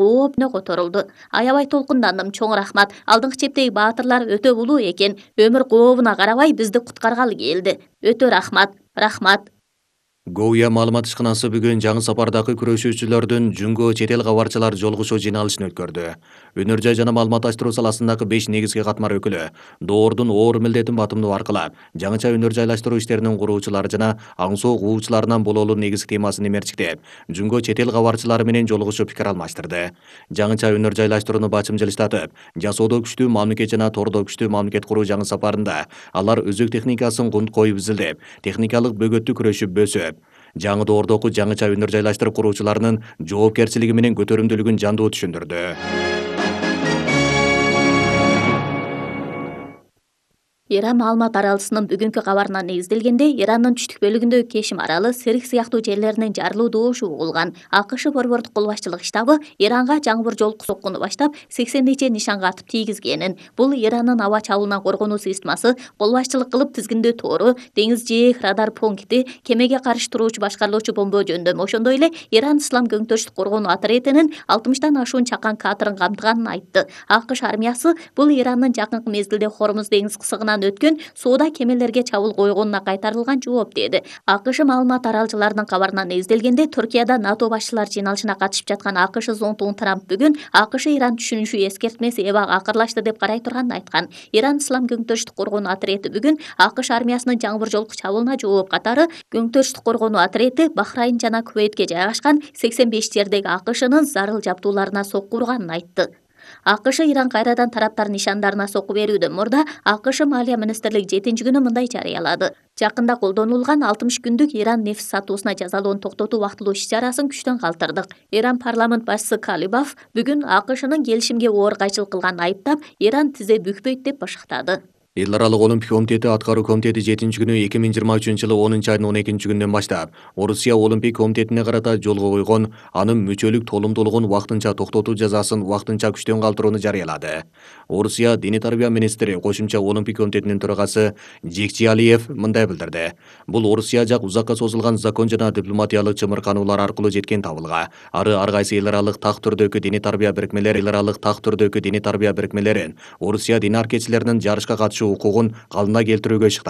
коопуна которулду. Аябай толкундандым, чоң рахмат. Алдыңкы чептеги баатырлар өтө улуу экен. Өмүр кообуна карабай бизди куткаргалы келди. Өтө рахмат. Рахмат. Гоуя маалымат ишканасы бүгүн жаңы сапардагы күрөшүүчүлөрдүн Жүнгө чет эл кабарчылар жолугушуу жыйналышын өткөрдү. Өнөр жай жана маалыматташтыруу саласындагы 5 негизги катмар өкүлү доордун оор милдетин батымдоо аркылуу жаңыча өнөр жайлаштыруу иштеринин куруучулары жана аң соок угуучуларынан болоолуу негизги темасын эмерчиктеп, Жүнгө чет эл кабарчылары менен жолугушуп пикир алмаштырды. Жаңыча өнөр жайлаштырууну бачым жылыштатып, жасоодо күчтүү мамлекет жана тордо күчтүү мамлекет куруу жаңы сапарында алар өзөк техникасын кунт коюп изилдеп, техникалык бөгөттү күрөшүп бөсөп, жаңы доордогу жаңыча өнөр жайлаштырып куруучуларынын жоопкерчилиги менен көтөрүмдүүлүгүн жандуу түшүндүрдү. Иран маалымат аралчысынын бүгүнкү кабарына негизделгенде, Ирандын түштүк бөлүгүндөгү Кешим аралы, Сирих сыяктуу жерлеринин жарылуу добушу угулган. АКШ борбордук кол башчылык штабы Иранга жаңбыр жолку соккуну баштап 80 нече нишанга атып тийгизгенин, бул Ирандын аба чабуулунан коргонуу системасы, кол башчылык кылып тизгиндөө тору, деңиз жээк радар пункти, кемеге каршы туруучу башкарылуучу бомба жөндөмү, ошондой эле Иран Ислам көңтөрүштүк коргонуу отрядынын 60тан ашуун чакан катерин камтыганын айтты. АКШ армиясы бул Ирандын жакынкы мезгилде Хормуз деңиз кысыгынан өткөн соода кемелерге чабуул койгонуна кайтарылган жооп деди. АКШ маалымат аралчыларынын кабарына негизделгенде, Түркияда НАТО башчылар жыйналышына катышып жаткан АКШ зонтугун Трамп бүгүн АКШ-Иран түшүнүшү эскертмеси эбак акырлашты деп карай турганын айткан. Иран Ислам көңтөрүштүк коргонуу отряды бүгүн АКШ армиясынын жаңбыр жолку чабуулуна жооп катары көңтөрүштүк коргонуу отряды Бахрайн жана Кувейтке жайгашкан 85 жердеги АКШнын зарыл жабдууларына сокку урганын айтты. АКШ Иран кайрадан тараптардын нишандарына сокку берүүдөн мурда АКШ Маалия министрлиги 7-күнү мындай жарыялады. Жакында колдонулган 60 күндүк Иран нефть сатуусуна жазалоону токтотуу убактылуу иш-чарасын күчтөн калтырдык. Иран парламент башчысы Калибаф бүгүн АКШнын келишимге оор кайчылык кылганын айыптап, Иран тизе бүкпөйт деп башактады. Эл аралык олимпик комитети аткаруу комитети 7-күнү 2023-жылы 10-айдын 12-күнүнөн баштап Орусия олимпик комитетине карата жолго койгон анын мүчөлүк толумдуулугун вактынча токтотуу жазасын вактынча күчтөн калтырууну жарыялады. Орусия диний тарбия министри, кошумча олимпик комитетинин төрагасы Жекчи Алиев мындай билдирди. Бул Орусия жак узакка созулган закон жана дипломатиялык чымыркануулар аркылуу жеткен табылга. Ар кайсы эл аралык так түрдөгү диний тарбия бирикмелерин Орусия дин аркечилеринин жарышка катышуу укугун калына келтирүүгө ишыктанды.